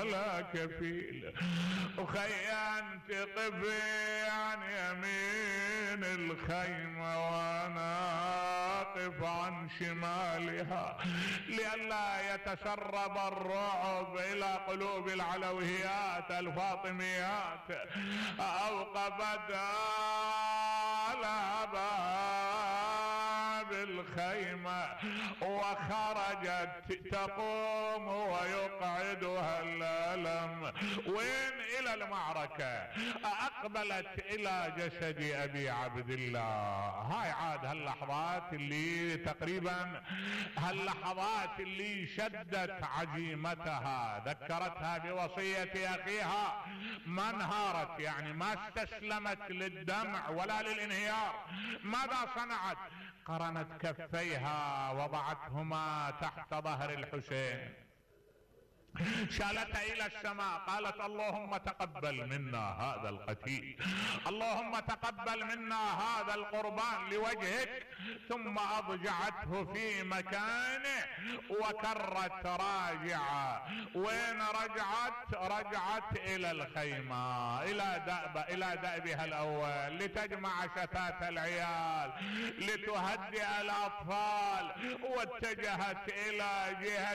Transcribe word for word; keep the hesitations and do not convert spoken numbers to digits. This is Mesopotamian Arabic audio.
ولا كفيل. وخيمت طفي عن يمين الخيمة وانا اقف عن شمالها لئلا يتسرب الرعب الى قلوب العلويات الفاطميات. اوقفت على باب الخيمة وخرجت تقوم ويقعدها الألم. وين؟ الى المعركة. اقبلت الى جسد ابي عبد الله. هاي عاد هاللحظات اللي تقريبا هاللحظات اللي شدت عزيمتها، ذكرتها بوصية اخيها، ما انهارت، يعني ما استسلمت للدمع ولا للانهيار. ماذا صنعت؟ قرنت كفيها وضعتهما تحت ظهر الحسين، شالتها الى السماء، قالت اللهم تقبل منا هذا القتيل، اللهم تقبل منا هذا القربان لوجهك. ثم اضجعته في مكانه وكرت راجعة. وين رجعت؟ رجعت الى الخيمة، الى دأب الى دأبها الاول، لتجمع شتات العيال، لتهدئ الاطفال، واتجهت الى جهة